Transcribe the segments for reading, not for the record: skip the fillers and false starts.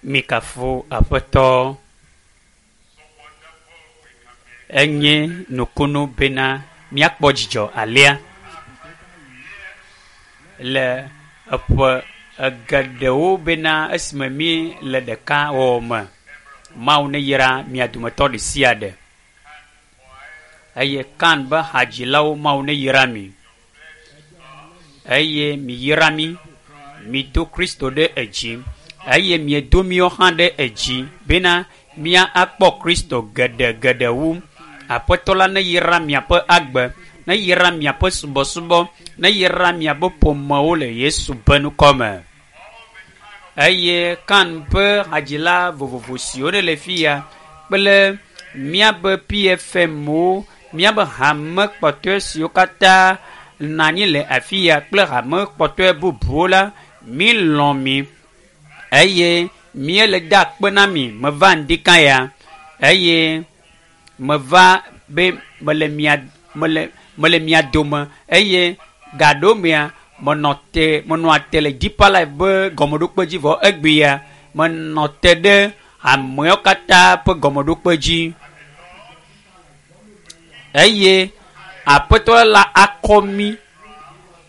Mikafu Aƒetɔ. Enye nukunu bena míakpɔ dzidzɔ alea le eƒe geɖewo bena esime mí le ɖeka wɔwɔ me. Mawu neyra mia dometɔ ɖe sia ɖe. Eye Kan be hadzilawo Mawu neyra mi. Eye miyra mí. Mido Kristo ɖe edzi eye miedo míawo hã ɖe edzi bena mía akpɔ Kristo geɖe geɖe wu. Aƒetɔ la neyra miaƒe agbe, neyra miaƒe subɔsubɔ, neyra miaƒe ƒomewo le Yesu ƒe ŋkɔ me. Eye Kan ƒe hadzila vovovo siwo ne le fi ya kple míaƒe PFM-wo, míaƒe hame kpɔtɔe siwo katã nɔ anyi le afi ya kple hame kpɔtɔe bubuwo la, mílɔ̃ mi eye míele da akpe na mi. Meva ŋdika ya eye meva be mele mia mele mele mia dome eye gaɖewo mea menɔ te menɔa te le Deeper Life be gɔmeɖokpe dzi vɔ egbea menɔ te ɖe ameawo katã ƒe gɔmeɖokpe dzi eye Aƒetɔ la akɔ mí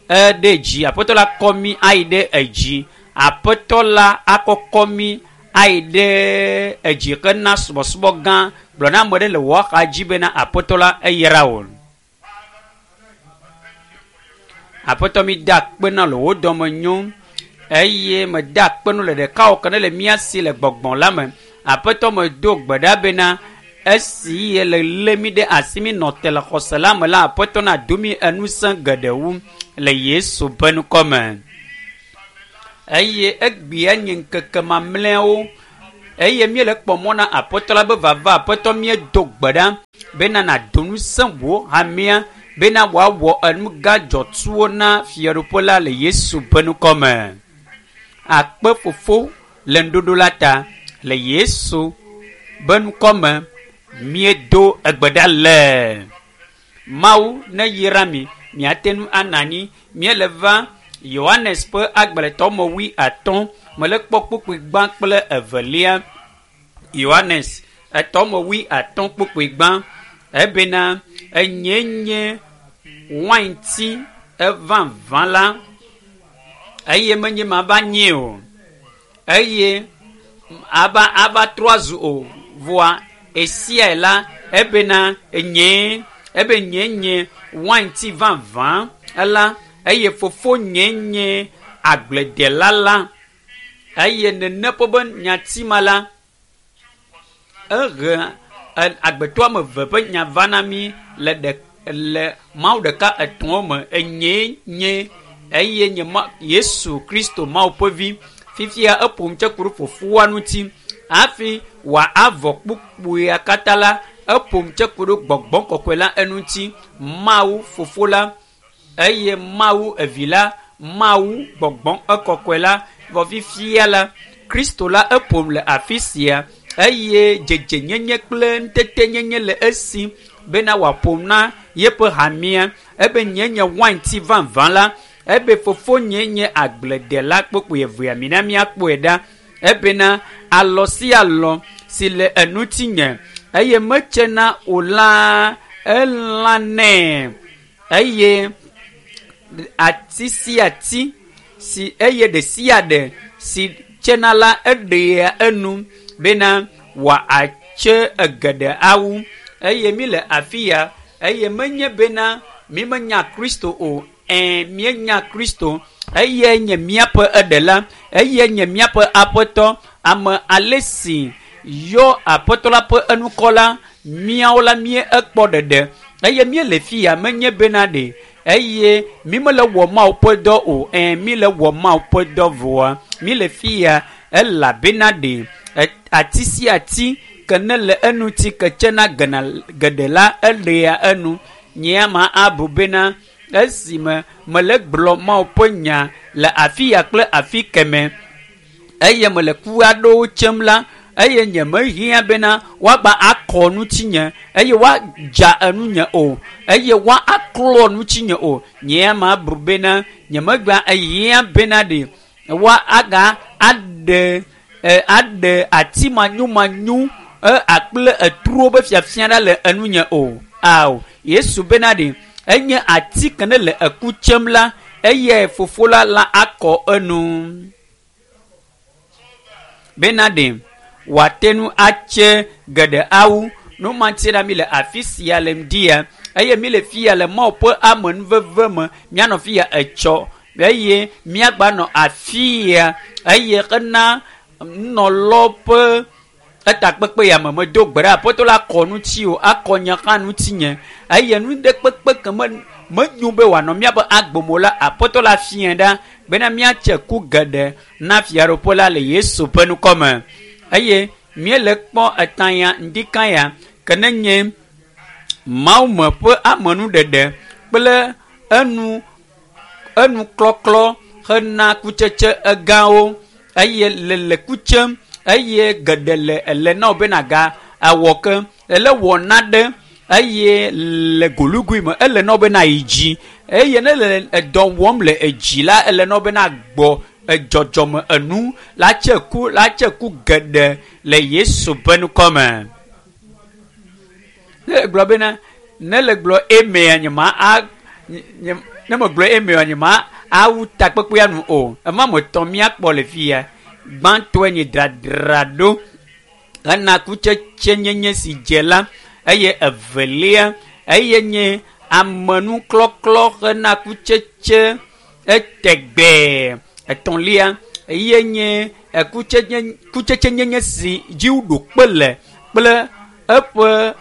ɖe dzi. Aƒetɔ la akɔ mí ayi ɖe edzi. Aƒetɔ la akɔkɔ mí ayi ɖe edzi hena subɔsubɔ gã. Gblɔ na ame ɖe le wò axa dzi bena Aƒetɔ la eyra wò. Aƒetɔ mi da akpe na le wò dɔme nyo eye meda akpe nu le ɖeka wò ke ne le mía si le gbɔgbɔ la me. Aƒetɔ medo gbe ɖa bena esi ye le lé mí ɖe asi mí nɔ te le xɔse la me la, Aƒetɔ nado mí enusẽ geɖe wu le Yesu ƒe ŋkɔ me. Eye egbea nye ŋkeke mamlɛawo eye míele kpɔ mɔ na Aƒetɔ la be vava. Aƒetɔ míedo gbe ɖa bena nàdo ŋusẽ wò hamea bena wòawɔ enu gã dzɔtsuwo na fiaɖuƒe la le Yesu ƒe ŋkɔ me. Akpe fofo le ŋuɖoɖo la ta le Yesu be ŋkɔ me míedo egbe ɖa le. Mawu neyra mi miate ŋu anɔ anyi. Míele va Yohanes ƒe agbalẽtɔ me 50 mele kpɔ kpukpui gbã kple evelia. Yohanes etɔ me 50 kpukpui gbã ebena enye nye wainti evavã la eye menye mava nyee o eye ava ava trɔ azu o voa esiae la ebena enye ebe nye nye wainti vavã la eye fofo nye nye agbledela la eye nene ƒe be nyati ma la ehe agbetɔ ame eve ƒe nya va na mí le ɖe le Mawu ɖeka etɔ̃wo me enyee nye eye nye ma Yesu Kristo Mawu ƒe vi. Fifia eƒo nu tse ku ɖe fofoa ŋuti hafi wòavɔ kpukpuia katã la eƒo nu tse ku ɖe gbɔgbɔ kɔkɔe la eŋuti. Mawu fofo la eye Mawu evi la, Mawu gbɔgbɔ ekɔkɔe la. Vɔ fifia la Kristo la eƒom le afi sia eye dzedzenyenye kple ŋutetenyenye le esi bena wòaƒom na yeƒe hamea. Ebe nye nye wainti vavã la, ebe fofonye nye agbledela kpokpoe evea mina míakpɔe ɖa. Ebena alɔ sia alɔ si le enutinye eye metsena o la elãnɛ eye ati sia ati si eye ɖe sia ɖe si tsena la eɖea enu bena wòatse egeɖe awu eye mi le afi ya eye menye bena mi menya Kristo o. Ẽ, míenya Kristo eye nye míaƒe eɖela eye nye míaƒe aƒetɔ. Ame ale si yɔ aƒetɔ la ƒe enukɔ la, míawo la mí ekpɔ ɖeɖe eye míele fi ya menye bena ɖe eye mi mele wɔ Mawu ƒe dɔ o. Ẽ, mi le wɔ Mawu ƒe dɔ vɔa mi le fi ya elabena ɖe ati sia ati ke ne le eŋuti ke tsena gena geɖe la eɖea enu. Nye ma abu bena esime mele gblɔ Mawu ƒe nya le afi ya kple afi keme eye mele ku aɖewo tsem la eye nye mehiã bena woagba akɔ ŋutinye eye woadza enunye o eye woa aklɔ ŋutinye o. Nye ma bu bena nye megba ehiã bena ɖe woa aga aɖe Aɖe ati manyomanyo akple etruwo be fiafia ɖa le enunye o. Ao, Yesu bena ɖe enye ati ke ne le eku tsem la, eyae fofo la la akɔ enu. Bena ɖe wòate ŋu atse geɖe awu. Nu ma ŋuti la mi le afi sia le ŋdia eye mi le fia le Mawu ƒe amenuveve me. Mianɔ fia etsɔ eye miagba nɔ afia eye hena nunɔlɔ ƒe etakpekpe ya me medo gbe ɖe aƒetɔ la kɔ ŋuti o, akɔ nye hã ŋutinye eye nu ɖe kpekpe ke me menyo be wòanɔ míaƒe agbe me la, aƒetɔ la fiae ɖa bena míatse ku geɖe na fiaɖuƒe la le Yesu ƒe ŋkɔme. Eye míele kpɔ etã ya ŋdika ya ke ne nye Mawume ƒe amenuɖeɖe kple enu enuklɔklɔ hena kutsetse egãwo eye le le ku tsem eye geɖe le ele na wo bena ga awɔ ke ele wɔ naɖe eye le golugui me ele na wo bena yi dzi eye ne le edɔ wɔm le edzi la ele na wo bena gbɔ edzɔdzɔme enu la tse ku la tse ku geɖe le Yesu ƒe ŋkɔme. Ne gblɔ bena ne le gblɔ emea nye ma a nye ne megblɔ emea nye ma awu takpekpea nu o. Ema me tɔ míakpɔ le fia. Gbãtɔe nye dradraɖo hena kutsetse nyenye si dze la eye evelia eye nye amenuklɔklɔ hena kutsetse etegbee. Etɔ̃lia eye nye kutsetse nyenye si dzi woɖo kpe le kple eƒe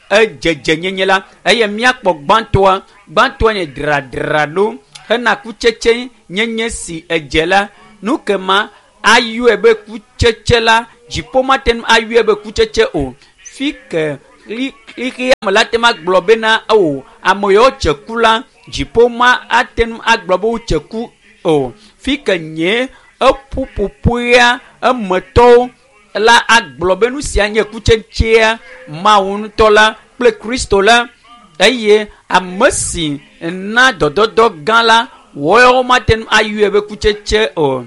edzedze nyenye la eye míakpɔ gbãtɔa. Gbãtɔa nye dradraɖo hena kutsetse nyenye si edze la. Nu ke ma ayɔe be kutsetse la, dziƒo mate ŋu ayɔe be kutsetse o. Fi ke xexea me la te ŋu agblɔ bena o ame yawo tse ku la, dziƒo ma ate ŋu agblɔ be wotse ku o. Fi ke nye eƒuƒoƒoea emetɔwo la agblɔ be nu sia nye kutsetsea Mawu ŋutɔ la kple Kristo la eye ame si na dɔdɔdɔ gã la woawo mate ŋu ayɔe be kutsetse o.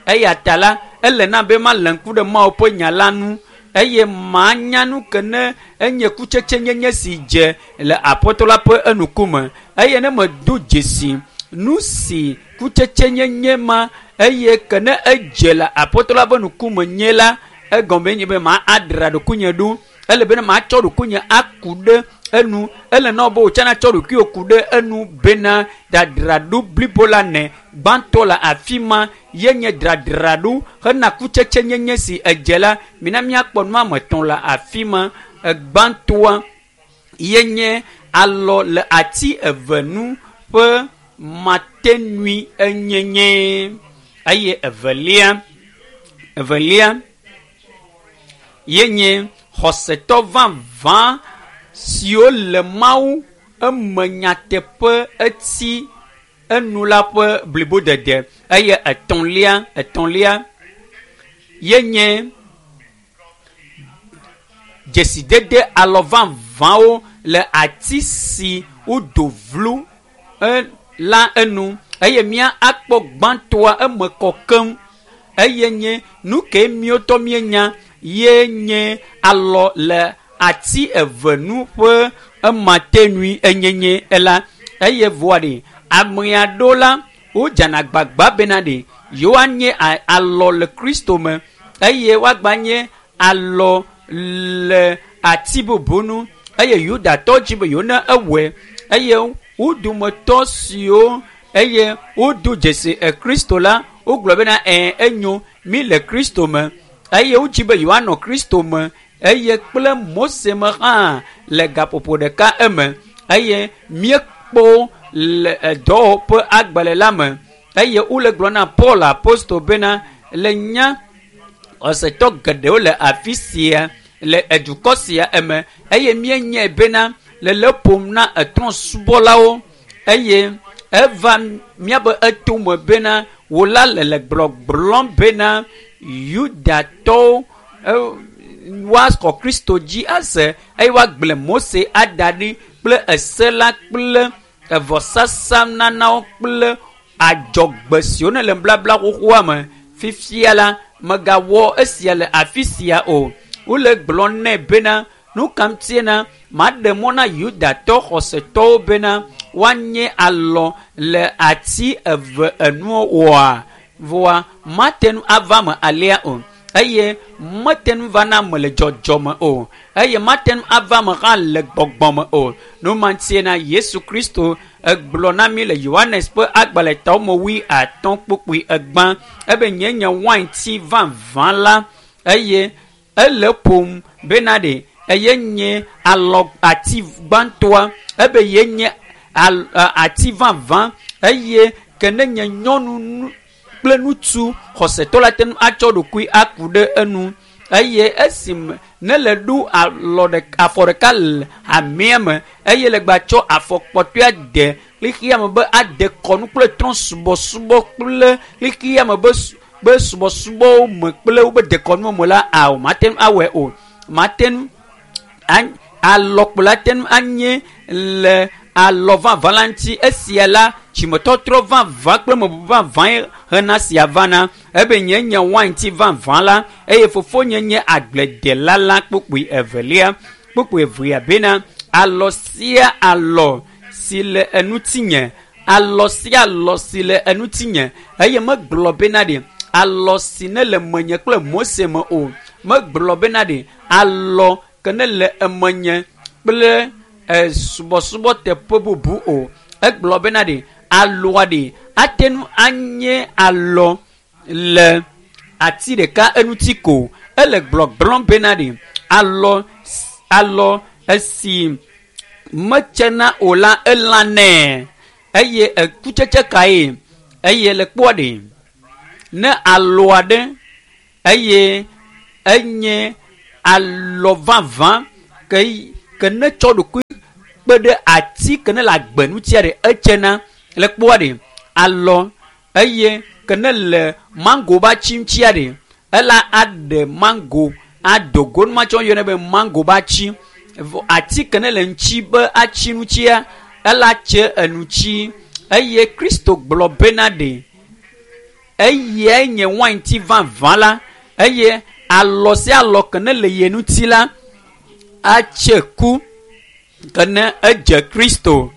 Eya ta la ele na be malé ŋku ɖe Mawu ƒe nya la ŋu eye manya nu ke ne enye kutsetse nyenye si dze le aƒetɔ la ƒe enukume eye ne medo dzesi nu si kutsetse nyenye ma eye ke ne edze le aƒetɔ la ƒe ŋkume nye la, egɔme nye be ma adra ɖokuinye ɖo. Ele bena matsɔ ɖokuinye aku ɖe enu. Ele na wo be wòtsã natsɔ ɖokuiwò ku ɖe enu bena dradraɖo blibo la ne gbãtɔ le afi ma ye nye dradraɖo hena kutsetse nyenye si edze la. Mina míakpɔ nu ame etɔ̃ le afi ma. Egbãtɔa ye nye alɔ le ati eve nu ƒe matenui enyenye eye evelia ye nye xɔsetɔ vavã siwo le Mawu eme nyateƒe eti enu la ƒe blibodede eye etɔ̃lia ye nye dzesidede alɔ vavãwo le ati si wodo vlu la enu eye mía akpɔ gbãtɔa eme kɔ keŋ eye nye nu ke míwotɔ míenya ye nye alɔ le ati eve nu ƒe ematenui enyenye la eye voa ɖe ame aɖewo la wodzana gbagba bena ɖe yewoanye alɔ le Kristo me eye woagba nye alɔ le ati bubu nu eye Yudatɔ dzi be yewo ne ewɔe eye wo dometɔ siwo eye wodo dzesi Kristo la wogblɔ bena enyo mi le Kristo me eye wodzi be yewoanɔ Kristo me eye kple Mose me hã le gaƒoƒo ɖeka eme eye míekpɔ le dɔwɔƒe agbalẽ la me eye wole gblɔ na Paul apostol bena le nya xɔsetɔ geɖewo le afi sia le edukɔ sia eme eye míenyae bena le le ƒom na etrɔ̃subɔlawo eye eva míabe etome bena wò la le le gblɔgblɔm bena Yudatɔwo woaxɔ Kristo dzi ase eye woagblẽ Mose ada ɖi kple ese la kple evɔsasa nanawo kple adzɔgbe siwo ne le nubabla xoxoa me. Fifia la Mègawɔ esia le afi sia o. Wole gblɔ nɛ bena nu ka ŋutie na maɖe mɔ na Yudatɔ xɔsetɔwo bena woanye alɔ le ati eve enuwo oa? Vɔa mate ŋu ava me alea o. Eye mete ŋu va na ame le dzɔdzɔme o. Eye mate ŋu ava ame hã le gbɔgbɔme o. Nu ma ŋutie na Yesu Kristo egblɔ na mi le Yohanes ƒe agbalẽ tɔwo 50 kpukpui 3 ebe nye nye wainti vavã la eye ele ƒom bena ɖe eye nye alɔ ati gbãtɔa ebe ye nye ati vavã eye ke ne nye nyɔnu kple ŋutsu xɔsetɔ la te ŋu atsɔ ɖokui aku ɖe enu eye esime ne le ɖo alɔ ɖeka afɔ ɖeka le hamea me eye le gbatsɔ afɔ kpɔtɔea de xexea me be ade kɔnu kple trɔ̃ subɔsubɔ kple xexea me be subɔsubɔwo me kple wobe dekɔnuwo me la ao mate ŋu awɔe o. Mate ŋu alɔkplɔla te ŋu anye le alɔ vavã la ŋuti. Esia la dzimetɔtrɔ vavã kple mebubu vavãe hena sia vana. Ebe nye nye wainti vavã la eye fofonye nye agbledela la. Kpukpui evelia kpukpui evea bena alɔ sia alɔ si le enutinye alɔ sia alɔ si le enutinye eye megblɔ bena ɖe alɔ si ne le menye kple Mose me o. Megblɔ bena ɖe alɔ ke ne le emenye kple subɔsubɔ teƒe bubu o. Egblɔ bena ɖe alɔa ɖe ate ŋu anye alɔ le ati ɖeka eŋuti ko. Ele gblɔgblɔm bena ɖe alɔ esi metsena o la elãnɛ eye ekutsetse kae eye le kpɔa ɖe ne alɔa ɖe eye enye alɔ vavã ke ne tsɔ ɖokui kpe ɖe ati ke ne le agbe ŋutia ɖe etsena le kpɔa ɖe alɔ eye ke ne le mango ba tsi ŋutia ɖe ela aɖe mango adogo numatsɔ yɔnɛ be mango ba tsi ati ke ne le ŋuti be atsi ŋutia ela tse eŋuti eye Kristo gblɔ bena ɖe eyae nye wainti vavã la eye alɔ sia alɔ ke ne le ye ŋuti la atse ku ke ne edze Kristo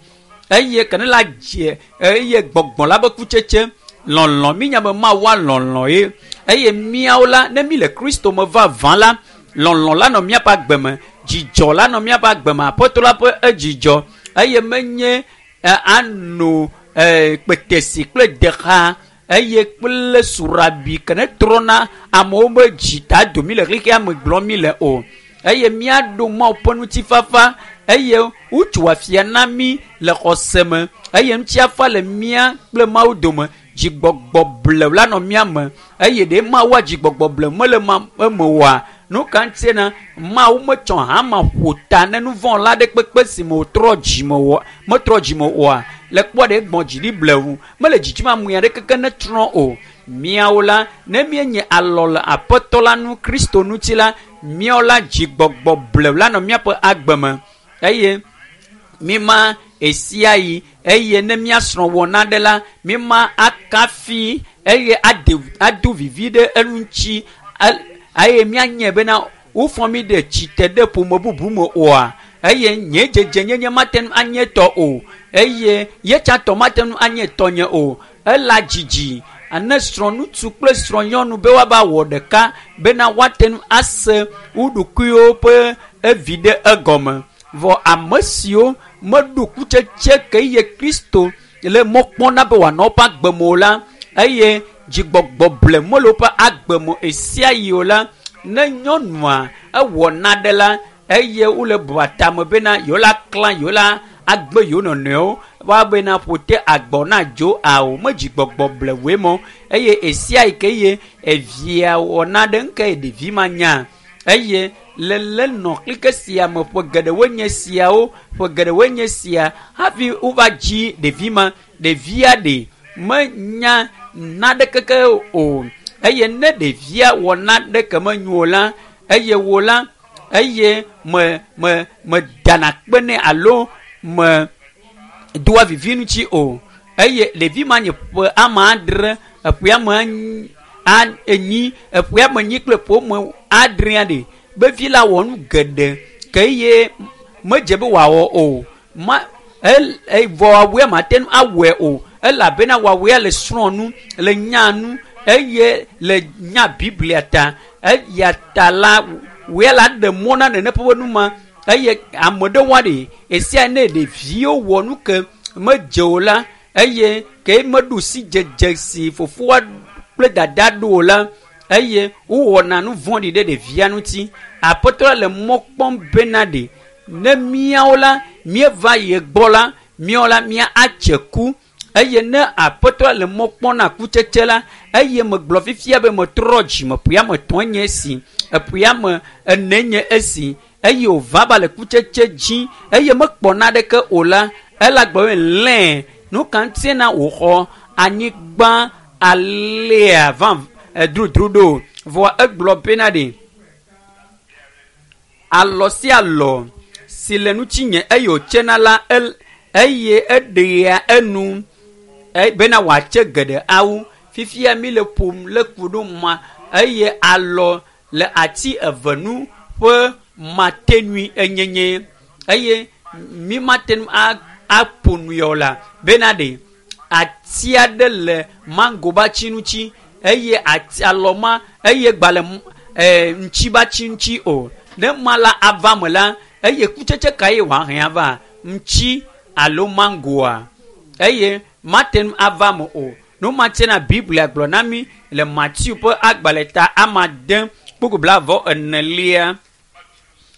eye ke ne la dze eye gbɔgbɔ la be kutsetse lɔlɔ mi nya be Mawu lɔlɔ ye eye míawo la ne mi le Kristo me vavã la lɔlɔ la nɔ míaƒe agbe me dzidzɔ la nɔ míaƒe agbe me aƒetɔ la ƒe edzidzɔ eye menye ano kpetesi kple dexa eye kple surabi ke ne trɔna amewo be dzita domi le xexea me gblɔm mi le o eye míaɖo Mawu ƒe ŋutifafa eye wotso afia na mí le xɔse me eye ŋutifafa le mía kple Mawu dome dzigbɔgbɔ blewu la nɔ mía me eye ɖe Mawua dzigbɔgbɔ blewu mele eme oa nu ka ŋutie na Mawu metsɔ hama ƒo ta ne nu vɔ̃ la ɖe kpekpe si me wòtrɔ dzime oa metrɔ dzime oa le kpɔ ɖe gbɔn dzi ɖi blewu mele dzidzim ame aɖe keke ne trɔ o. Míawo la ne míenye alɔ le aƒetɔ la nu Kristo ŋuti la míawo la dzigbɔgbɔ blewu la nɔ míaƒe agbe me eye míma esia yi eye ne míasrɔ̃ wɔ naɖe la míma akafi eye ado vivi ɖe eŋuti eye míanye bena wofɔ mí ɖe tsite ɖe ƒome bubu me oa eye nye dzedze nyenye mate ŋu anye tɔ o eye ye tsã tɔ mate ŋu anye tɔnye o. Ela dzidzi ane srɔ̃ŋutsu kple srɔ̃nyɔnu be woava wɔ ɖeka bena woate ŋu ase wo ɖokuiwo ƒe evi ɖe egɔme. Vɔ ame siwo meɖo kutsetse ke ye Kristo le mɔ kpɔm na be wòanɔ woƒe agbe me o la eye dzigbɔgbɔ ble mele woƒe agbe me esia yi o la ne nyɔnua ewɔ naɖe la eye wole bua tame bena yewo la klã yewo la agbe yewo nɔnɔewo woabena ƒote agbɔ na dzo ao me dzigbɔgbɔ blewoe mɔ eye esia yi ke ye evia wɔ naɖe ŋke ɖevi ma nya eye le le nɔ klike sia me ƒe geɖewoe nye siawo ƒe geɖewoe nye sia hafi wova dzi ɖevi ma ɖevia ɖe menya naɖe keke o eye ne ɖevia wɔ naɖe ke menyo o la eye wo la eye me me me dana kpe nɛ alo me doa vivi ŋuti o eye ɖevi ma nye ƒe ame adre eƒe ame Enyi eƒea me nyi kple ƒome adrea ɖe be vi la wɔ nu geɖe ke ye medze be wòawɔ o ma vɔ wɔawɔe mate ŋu awɔe o elabena wɔawɔea le srɔ̃ nu le nya nu eye le nya Biblia ta eya ta la wɔe la ɖe mɔ na nene ƒe nu ma eye ame ɖe wa ɖe esia ne ɖeviwo wɔ nu ke medze o la eye ke meɖu si dzedze si fofoa kple dada ɖo o la eye wowɔna nu vɔ̃ɖi ɖe ɖevia ŋuti. Aƒetɔ la le mɔ kpɔm bena ɖe ne míawo la míeva ye gbɔ la míawo la mía atse ku eye ne aƒetɔ la le mɔ kpɔm na kutsetse la eye megblɔ fifia be metrɔ dzime ƒea me tɔ̃ nye esi eƒea me ene nye esi eye wòva ba le kutsetse dzi eye mekpɔ naɖeke o la ela gblɔ be lẽ nu ka ŋutie na wòxɔ anyigba alea va edrodro ɖo vɔa egblɔ bena ɖe alɔ sia alɔ si le ŋutinye eye wòtsena la eye eɖea enu bena wòatse geɖe awu. Fifia mi le ƒom le ku ɖo ma eye alɔ le ati eve nu ƒe matenui enyenye eye mi mate ŋu aƒo nu ya o la bena ɖe ati aɖe le mango be ati ŋuti eye ati alɔ ma eye gba le ŋuti be ati ŋuti o. Ne ma la ava me la eye kutsetse ka ye wòahe ava ŋuti alo mangoa eye mate ŋu ava me o. Nu ma tsena Biblia gblɔ na mi le Matthew ƒe agbalẽ ta amade kpukpu blaeve enelia.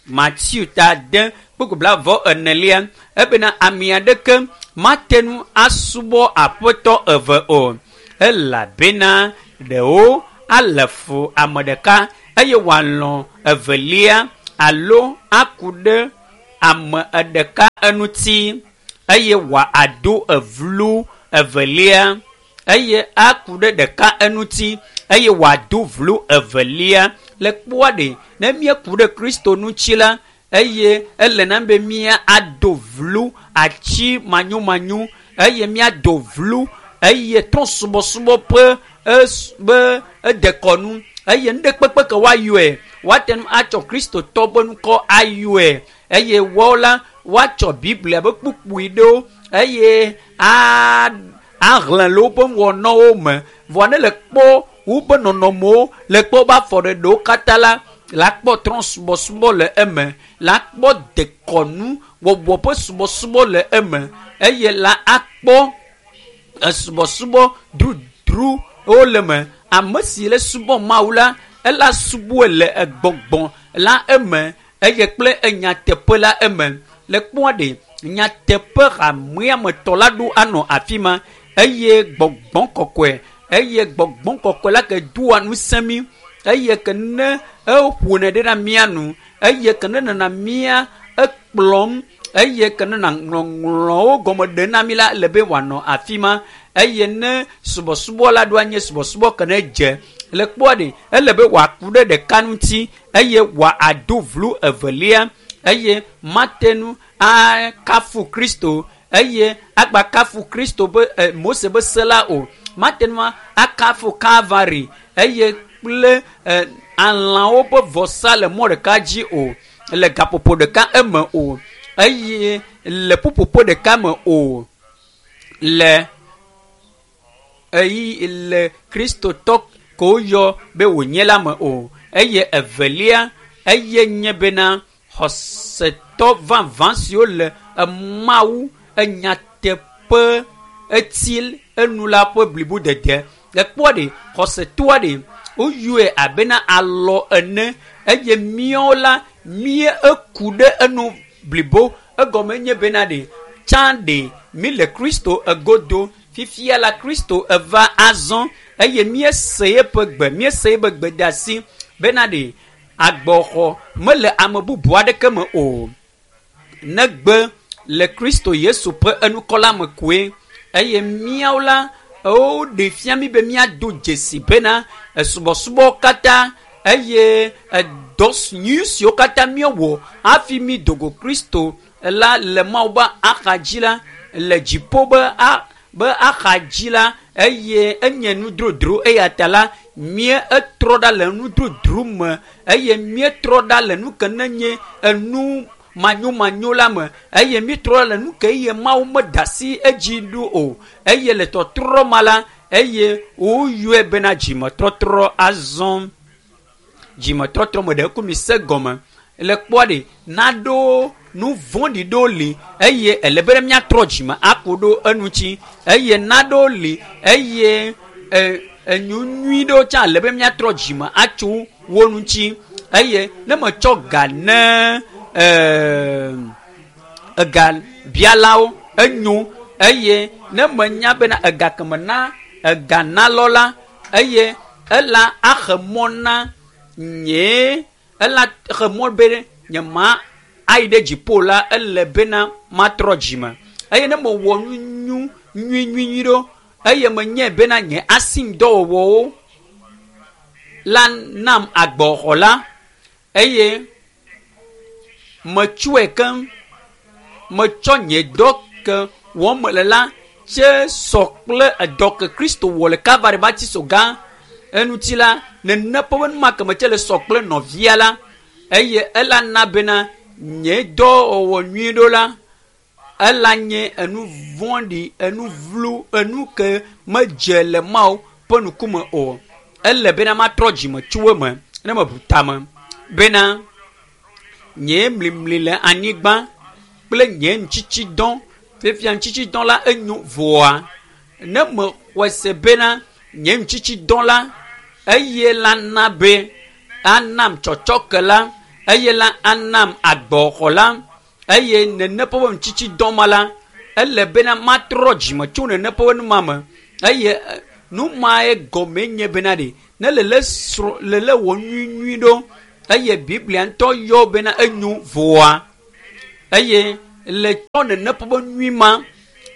Matthew ta ade kpukpu blaeve enelia ebena ame aɖeke mate ŋu asubɔ aƒetɔ eve o elabena ɖewo ale fu ame ɖeka eye wòalɔ̃ evelia alo aku ɖe ame ɖeka eŋuti eye wòado evlu evelia eye aku ɖe ɖeka eŋuti eye wòado vlu evelia. Le kpɔa ɖe ne míeku ɖe Kristo ŋuti la eye ele na be mía ado vlu ati manyomanyo eye míado vlu eye trɔ̃subɔsubɔ ƒe be edekɔnu eye nu ɖe kpekpe ke woayɔe woate ŋu atsɔ Kristotɔ ƒe ŋkɔ ayɔe eye woawo la woatsɔ Biblia ƒe kpukpui ɖewo eye ahlẽ le woƒe wɔnawo me. Vɔa ne le kpɔ woƒe nɔnɔmewo le kpɔ woƒe afɔɖeɖewo katã la la kpɔ trɔ̃subɔsubɔ le eme, la kpɔ dekɔnu wɔwɔ ƒe subɔsubɔ le eme eye la akpɔ esubɔsubɔ drudruwo le eme. Ame si le subɔ Mawu la ela subɔe le egbɔgbɔ la eme eye kple enyateƒe la eme. Le kpɔa ɖe nyateƒe hamea me tɔ la ɖo anɔ afi ma eye gbɔgbɔ kɔkɔe eye gbɔgbɔ kɔkɔe la ke doa ŋusẽ mi eye ke ne eƒonɛ ɖe na mía nu eye ke ne nana mía ekplɔm eye ke ne na ŋɔŋlɔwo gɔme ɖe na mi la le be wòanɔ afi ma eye ne subɔsubɔ la ɖo anye subɔsubɔ ke ne dze le kpɔa ɖe ele be wòaku ɖe ɖeka ŋuti eye wòado vlu evelia eye mate ŋu akafu Kristo eye agba kafu Kristo be Mose be se la o. Mate ŋu akafu Kalvari eye kple alãwo ƒe vɔsa le mɔ ɖeka dzi o le gaƒoƒo ɖeka eme o eye le ƒuƒoƒo ɖeka me o le eyi le Kristotɔ ko woyɔ be wònye la me o. Eye evelia eye nye bena xɔsetɔ vavã siwo le Mawu enyateƒe eti enu la ƒe blibodede. Le kpɔa ɖe xɔsetɔa ɖe woyɔe abena alɔ ene eye míawo la mía eku ɖe enu blibo egɔme nye bena ɖe tsã ɖe mi le Kristo egodo. Fifia la Kristo eva azɔ eye míese eƒe gbe míese eƒe gbedeasi bena ɖe agbɔxɔ mele ame bubu aɖeke me o negbe le Kristo Yesu ƒe enukɔla me koe eye míawo la woɖe fia mi be míado dzesi bena esubɔsubɔ katã eye edɔ nyui siwo katã míewɔ hafi mi dogo Kristo la le Mawu be axadzi la le dziƒo be be axadzi la eye enye nu drodro eya ta la Mía etrɔ ɖa le nududru me eye míetrɔ ɖa le nu ke ne nye enu manyomanyo la me eye míetrɔ ɖa le nu ke eye Mawu meda asi edzi ɖo o eye le tɔtrɔ ma la eye woyɔe bena dzimetɔtrɔ azɔ. Dzimetɔtrɔ me ɖe ku mi se gɔme le kpɔa ɖe naɖewo nu vɔ̃ɖi ɖewo li eye ele be míatrɔ dzime aku ɖo eŋuti eye naɖewo li eye enu nyui ɖewo tsã ele be míatrɔ dzime atso wo ŋuti eye ne metsɔ ga ne ega bialawo enyo eye ne menya bena ega keme na ega nalɔ la eye ela axe mɔ na nye ela xe mɔ be nye ma ayi ɖe dziƒo la ele bena matrɔ dzime eye ne mewɔ nu nyu nyui nyui nyui ɖo eye menye bena nye asimdɔwɔwɔwo la nam agbɔxɔ la eye metsɔe keŋ metsɔ nye dɔ ke wɔm mele la tse sɔ kple edɔ ke Kristo wɔ le Kalvari ƒe atitsoga eŋuti la nene ƒe nu ma ke metse le sɔ kple nɔvia la eye ela na bena nye dɔwɔwɔ nyui ɖo la ela nye enu vɔ̃ɖi enu vlu enu ke medze le Mawu ƒe ŋkume o. Ele bena matrɔ dzime tso eme ne meʋu tame bena nye mlimli le anyigba kple nye ŋutitsidɔ fifia ŋutitsidɔ la enyo voa ne mexɔe se bena nye ŋutitsidɔ la eye la na be anam tsɔtsɔke la eye la anam agbɔxɔ la eye nene ƒe ŋutitsidɔ ma la ele bena matrɔ dzime tso nene ƒe nu ma me eye nu mae gɔme nye bena ɖe ne lele srɔ̃ lele wɔ nyui nyui ɖo eye Biblia ŋutɔ yɔ bena enyo voa eye le tsɔ nene ƒe nyui ma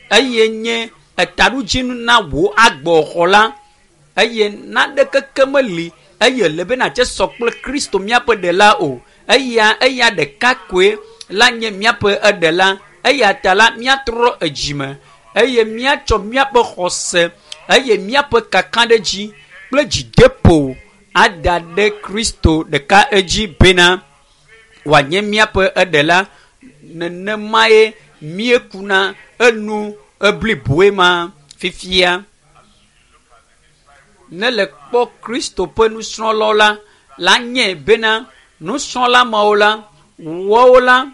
eye nye etaɖodzinu na wò agbɔxɔ la eye naɖeke ke meli eye le bena tse sɔ kple Kristo míaƒe ɖela o eya eya ɖeka koe la nye míaƒe eɖela eya ta la míatrɔ edzime eye míatsɔ míaƒe xɔse eye míaƒe kakaɖedzi kple dzideƒo ada ɖe Kristo ɖeka edzi bena wòanye míaƒe eɖela nenemae míekuna enu ebliboe ma fifia. Ne le kpɔ Kristo ƒe nusrɔ̃lawo la la nye bena nusrɔ̃la mawo la woawo la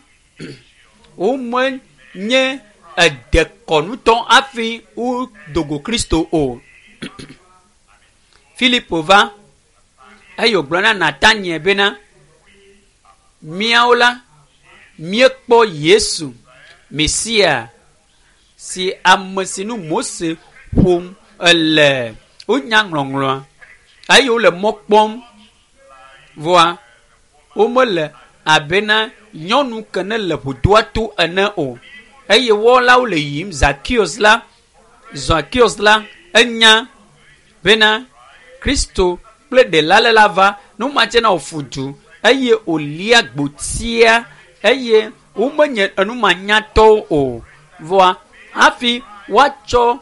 womenye edekɔnutɔ hafi wodo go Kristo o. Filipo va eye wògblɔ na Nataniel bena míawo la míekpɔ Yesu Mesia si ame si nu Mose ƒom ele wonya ŋlɔŋlɔa eye wole mɔ kpɔm voa womele abena nyɔnu ke ne le ʋudoa to ene o eye wɔlawo le yiyim Zakeus la Zakeus la enya bena Kristo kple ɖela le la va numatse na wòfu du eye wòlia gbotia eye womenye enumanyatɔwo o voa hafi woatsɔ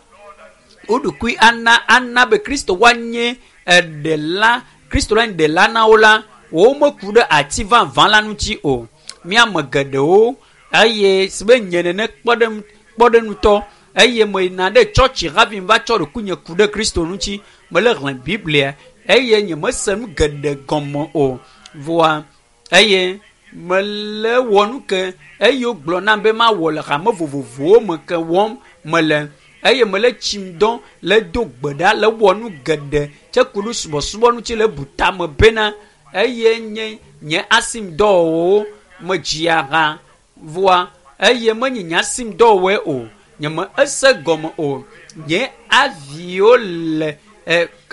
wo ɖokui ana ana be Kristo woanye eɖela Kristo la nye ɖela na wo la womeku ɖe ati vavã la ŋuti o. Míame geɖewo eye si be nye nene kpɔɖeŋutɔ eye meyina ɖe tsɔtsi hafi va tsɔ ɖokuinye ku ɖe Kristo ŋuti mele xlẽ Biblia eye nyemese nu geɖe gɔme o voa eye mele wɔ nu ke eye wogblɔ nam be mawɔ le hame vovovowo me ke wɔm mele eye mele tsim dɔ le do gbe ɖa le wɔ nu geɖe tse ku ɖe subɔsubɔ ŋuti le bu tame bena eye nye nye asimdɔwɔwɔwo medzia ha voa eye menye nye asimdɔwɔwɔe o nye me ese gɔme o nye aviwo le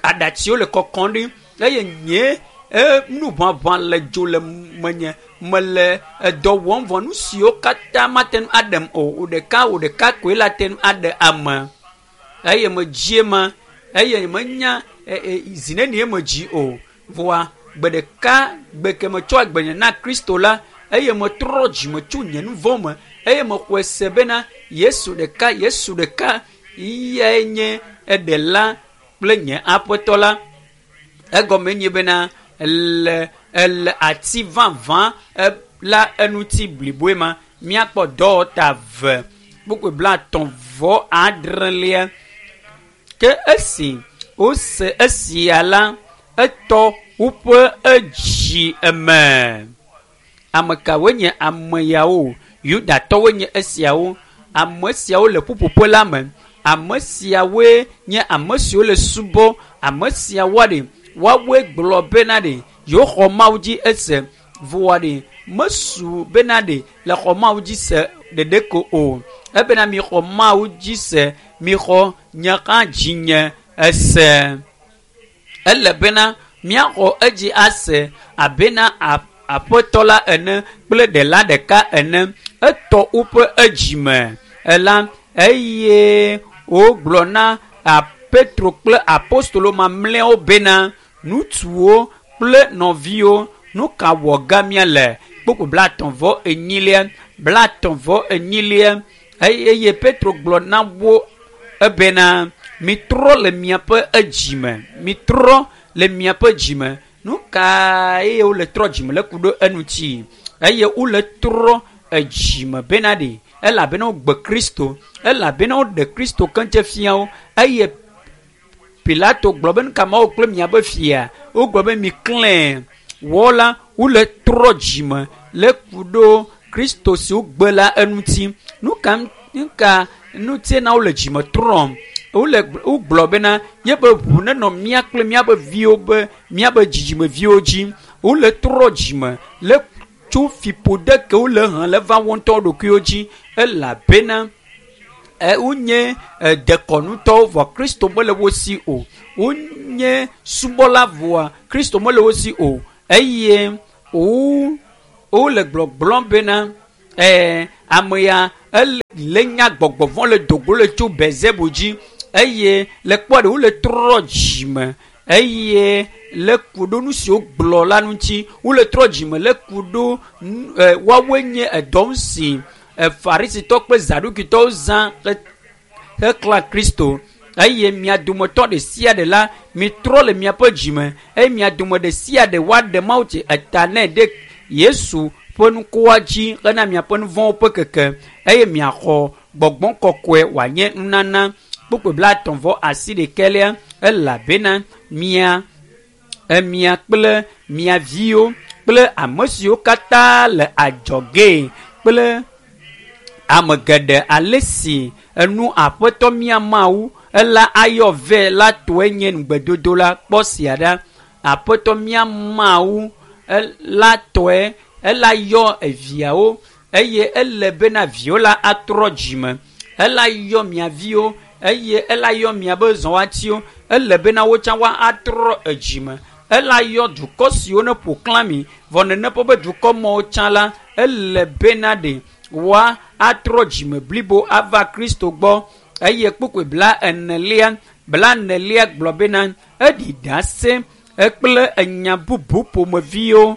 aɖatsiwo le kɔkɔm ɖi eye nye nuʋaʋã le dzo le menye mele edɔ wɔm vɔ nu siwo katã mate ŋu aɖem o wò ɖeka wò ɖeka koe la te ŋu aɖe ame eye medzi ema eye menya zi nenie medzi o voa gbe ɖeka gbe ke metsɔ agbenye na Kristo la eye metrɔ dzime tso nye nu vɔ̃ me eye mexɔe se bena Yesu ɖeka Yesu ɖeka yae nye eɖela kple nye aƒetɔ la. Egɔme nye bena le ele ati vavã la eŋuti bliboe ma. Míakpɔ dɔwɔta 2 kpukpui 39. Ke esi wose esia la, etɔ woƒe edzi eme. Ame kawoe nye ame yawo? Yudatɔwoe nye esiawo. Ame siawo le ƒuƒoƒe la me. Ame siawoe nye ame siwo le subɔ. Ame siawoa ɖe woawoe gblɔ bena ɖe yewoxɔ Mawu dzi ese. Vɔa ɖe mesu bena ɖe le xɔ Mawu dzi se ɖeɖe ko o. Ebena mixɔ Mawu dzi se, mixɔ nye hã dzinye ese. Ele bena míaxɔ edzi ase abena aƒetɔ la ene kple ɖela ɖeka ene. Etɔ woƒe edzime ela eye wogblɔ na Petro kple apostolo mamlɛawo bena ŋutsuwo kple nɔviwo, nu ka wɔ ge míale? Kpukpui 34, 34 eye Petro gblɔ na wo ebena mitrɔ le miaƒe edzime, mitrɔ le miaƒe dzime. Nu kae wole trɔ dzime le ku ɖo eŋuti? Eye wole trɔ edzime bena ɖe elabena wogbe Kristo, elabena woɖe Kristo keŋtse fia wo. Eye Pilato gblɔ be nu ka mawɔ kple miaƒe fia? Wogblɔ be miklẽ wɔ la, wole trɔ dzime le ku ɖo Kristo si wogbe la eŋuti. Nu ka nu ka ŋutie na wole dzime trɔm? Wole wogblɔ bena yeƒe ʋu nenɔ mía kple míaƒe viwo be míaƒe dzidzimeviwo dzi. Wole trɔ dzime le tso fiƒode ke wole he le va wo ŋutɔ ɖokuiwo dzi elabena wonye dekɔnutɔwo vɔ Kristo mele wo si o. Wonye subɔla vɔa Kristo mele wo si o. Eye wole gblɔgblɔm bena ame ya ele nya gbɔgbɔ vɔ̃ le dogo le tso Belzebul dzi eye le kpɔ ɖe wole trɔ dzime eye le ku ɖo nu si wogblɔ la ŋuti. Wole trɔ dzime le ku ɖo woawoe nye edɔ si Farisitɔ kple Zadukitɔwo zã heklã Kristo. Eye mia dometɔ ɖe sia ɖe la mitrɔ le miaƒe dzime eye mia dome ɖe sia ɖe woaɖe Mawu tsi eta nɛ ɖe Yesu ƒe nukoa dzi hena miaƒe nu vɔ̃wo ƒe keke eye miaxɔ gbɔgbɔ kɔkɔe wòanye nunana. Kpukpui 38 elabena mia mia kple mia viwo kple ame siwo katã le adzɔge kple ame geɖe ale si enu aƒetɔ mía Mawu ela ayɔ vɛ la tɔe nye ŋugbedodo la. Kpɔ sia ɖa, aƒetɔ mía Mawu la tɔe ela yɔ eviawo eye ele bena viwo la atrɔ dzime. Ela yɔ mia viwo eye ela yɔ miaƒe zɔwatiwo. Ele bena wotsã woa atrɔ edzime. Ela yɔ dukɔ siwo ne ƒo xlã mi vɔ nene ƒe be dukɔ mawo tsã la ele bena ɖe woa atrɔ dzime blibo ava Kristo gbɔ. Eye kpukpui 40 40 gblɔ bena eɖi ɖase kple enya bubu ƒomeviwo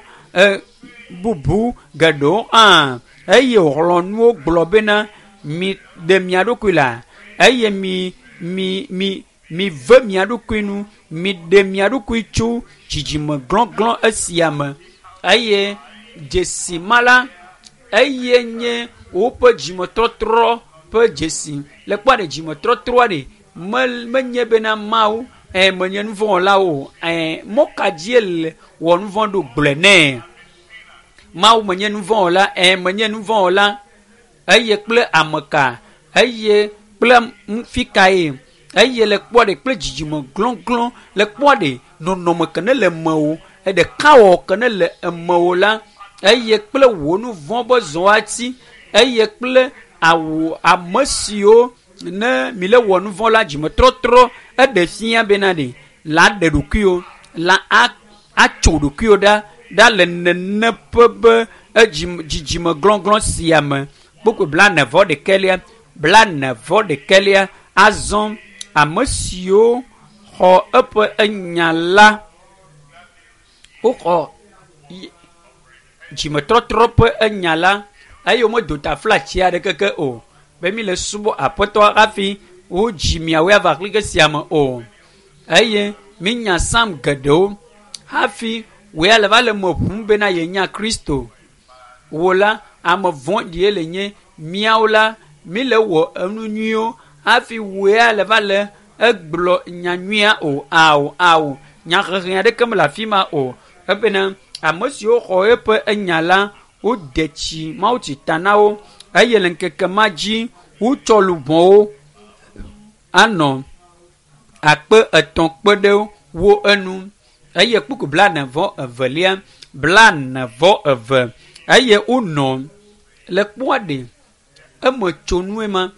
bubu geɖewo hã eye wòxlɔ̃ nuwo gblɔ bena mi ɖe mia ɖokui la eye mi mi mi mi ve mia ɖokui nu, mi ɖe mia ɖokui tso dzidzime glɔglɔ esia me. Eye dzesi ma la eye nye woƒe dzimetɔtrɔ ƒe dzesi. Le kpɔ ɖe dzimetɔtrɔa ɖe menye bena Mawu menye nu vɔ̃ wɔla o. Mɔ ka dzie le wɔ nu vɔ̃ ɖo gblɔe nɛ? Mawu menye nu vɔ̃ wɔla, menye nu vɔ̃ wɔla. Eye kple ame ka? Eye kple fi kae? Eye le kpɔ ɖe kple dzidzime glɔglɔ le kpɔ ɖe nɔnɔme ke ne le mewò, ɖeka wɔ ke ne le emewò la, eye kple wò nu vɔ̃ be zɔati, eye kple awu ame siwo ne mi le wɔ nu vɔ̃ la dzimetɔtrɔ eɖe fia bena ɖe la ɖe ɖokuiwo la atso ɖokuiwo ɖa ɖa le nene ƒe be dzidzime glɔglɔ sia me. Kpukpui 41, 41 azɔ ame siwo xɔ eƒe enya la woxɔ dzimetɔtrɔ ƒe enya la eye womedo taflatsi aɖeke ke o be mi le subɔ aƒetɔ hafi wodzi miawoe ava xlike sia me o. Eye minya psalm geɖewo. Hafi wò ya le va le me ʋum bena yenya Kristo. Wò la, ame vɔ̃ɖie le nye. Míawo la, míle wɔ enu nyuiwo hafi wò ya le va le egblɔ nya nyuia o. Ao, ao, nyahehe aɖeke mele afi ma o. Ebena ame siwo xɔ eƒe enya la, wode tsi mawutsi ta na wo eye le ŋkeke ma dzi wotsɔ luʋɔwo anɔ 3000 kpe ɖe wo enu. Eye kpukpu 42, 42 eye wonɔ le kpɔa ɖe eme tsonue ma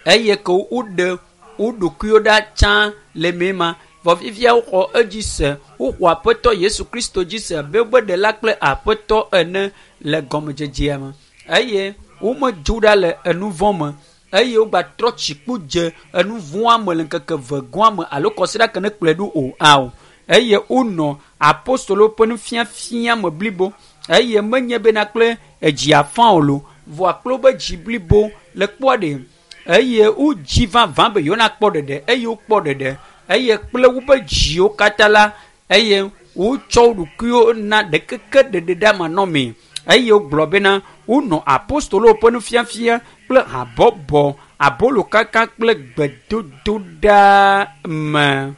eye ke woɖe wo ɖokuiwo ɖa tsã le mee ma. Vɔ fifia woxɔ edzi se, woxɔ Aƒetɔ Yesu Kristo dzi se abe wobe ɖela kple Aƒetɔ ene le gɔmedzedzea me eye womedzo ɖa le enu vɔ̃ me eye wogbatrɔ tsikpo dze enu vɔ̃a me le ŋkeke eve gɔ̃a me alo kɔsiɖa ke ne kplɔe ɖo o. Ao, eye wonɔ apostolowo ƒe nufiafia me blibo eye menye bena kple edzi afã o lo, vɔa kple wobe dzi blibo le kpɔa ɖe eye wodzi vavã be yewo nakpɔ ɖeɖe eye wokpɔ ɖeɖe eye kple wobe dziwo katã la eye wotsɔ wo ɖokuiwo na ɖekeke ɖeɖe ɖe amanɔmee eye wogblɔ bena wonɔ apostolowo ƒe nufiafia kple habɔbɔ abolokaka kple gbedodoɖa me.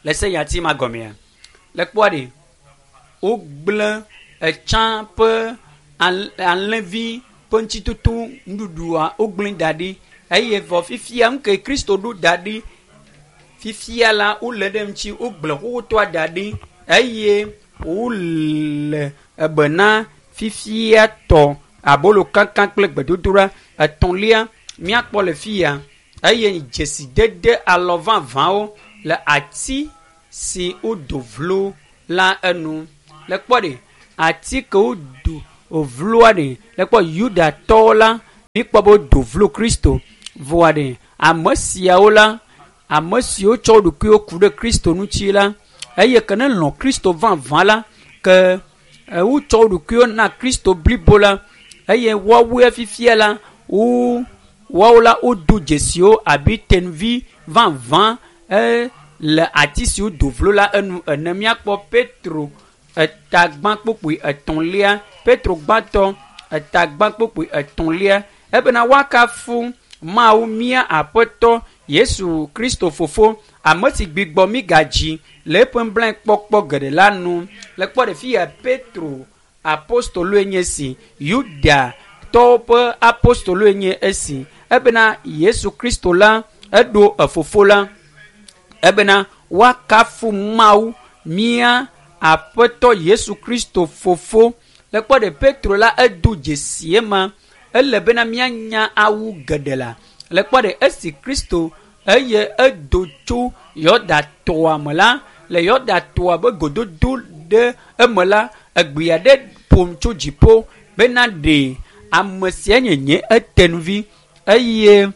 Le se yati ma gɔmea, le kpɔa ɖe wogblẽ etsã ƒe alẽvi ƒe ŋutitoto nuɖuɖua wogblẽ da ɖi eye vɔ fifia nu ke Kristo ɖo da ɖi fifia la wole ɖe ŋuti wogblẽ xoxotoa da ɖi eye wole ebena fifia tɔ abolo kankan kple gbedodoɖa. Etɔ̃lia míakpɔ le fia eye dzesidede alɔ vavãwo le ati si wodo vlo la enu. Le kpɔ ɖe ati ke wodo vloa ɖe le kpɔ Yudatɔwo la míkpɔ be wodo vlo Kristo vɔa ɖe ame siawo la ame siwo tsɔ wo ɖokuiwo ku ɖe Kristo ŋuti la eye ke ne lɔ̃ Kristo vavã la ke wotsɔ wo ɖokuiwo na Kristo blibo la eye woawoe fifia la wo woawo la wodo dzesiwo abe tenuvi vavã le ati si wodo vlo la enu ene. Míakpɔ Petro etagbã kpokpoe etɔ̃lia, Petro gbãtɔ etagbã kpokpoe etɔ̃lia ebena woakafu Mawu mía Aƒetɔ Yesu Kristo fofo ame si gbigbɔ mí gadzi le eƒe nublanuikpɔkpɔ geɖe la nu. Le kpɔ ɖe fi ya Petro apostoloe nye esi, Yudatɔwo ƒe apostoloe nye esi ebena Yesu Kristo la eɖo efofo la ebena woakafu Mawu mía Aƒetɔ Yesu Kristo fofo. Le kpɔ ɖe Petro la edo dzesi ema ele bena míanya awu geɖe la. Le kpɔ ɖe esi Kristo eye edo tso Yɔdatɔa me la, le Yɔdatɔa be gododo ɖe eme la, egbea ɖe ƒom tso dziƒo bena ɖe ame sia nye nye etenuvi eye